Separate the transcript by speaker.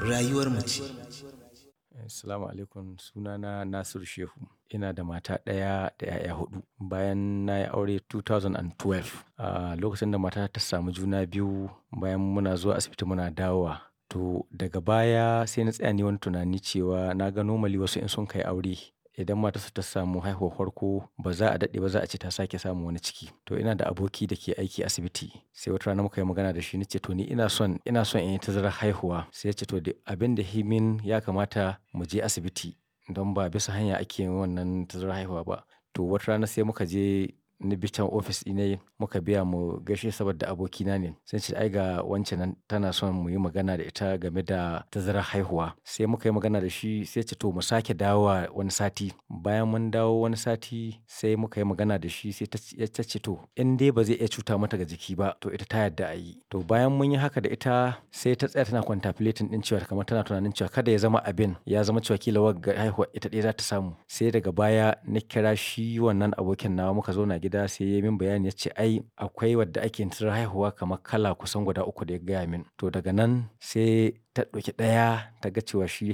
Speaker 1: Rayuwar mace.
Speaker 2: Assalamu alaikum, sunana Nasiru Shehu. Ina da mata ɗaya da 'ya'ya huɗu. Bayan na yi aure 2012, a lokacin da matata ta samu juna biyu, bayan muna zuwa asibiti muna dawowa. To daga baya sai na tsaya nayi wani tunani cewa na ga normally wasu in sun kai aure, idan matarsu ta samu haihuwar farko, ba za a daɗe ba za a ce ta sake samun wani ciki. To ina da aboki da ke aiki asibiti. Sai wata rana muka yi magana da shi, na ce to ni ina son in yi tazarar haihuwa. Sai ya ce to abin da himin ya kamata mu je asibiti don ba bisa hanya ake yin wannan tazarar haihuwa ba. To wata rana sai muka je, ni bi can ofis ɗina, muka biya mu gaishe saboda abokina ne. Sai ce ai ga wancan nan tana son mu yi magana da ita game da tazarar haihuwa. Sai muka yi magana da shi, sai ya ce to mu sake dawowa wani sati. Bayan mun dawo wani sati sai muka yi magana da shi, sai ta ce to in dai ba zai iya cuta mata ga jiki ba, to ita ta yarda a yi. To bayan mun yi haka da ita, sai ta tsaya tana contemplating ɗin cewa kamar tana tunanin cewa kada ya zama abin ya zama cewa kila wagga haihuwa ita ɗaya za ta samu. Sai daga baya na kira shi wannan abokin nawa, muka zauna gida, sai ya yi min bayani, ya ce ai akwai wadda ake yin tazarar haihuwa kamar kala kusan guda uku da ya gaya min. To daga nan sai ta ɗauki ɗaya ta ga cewa shi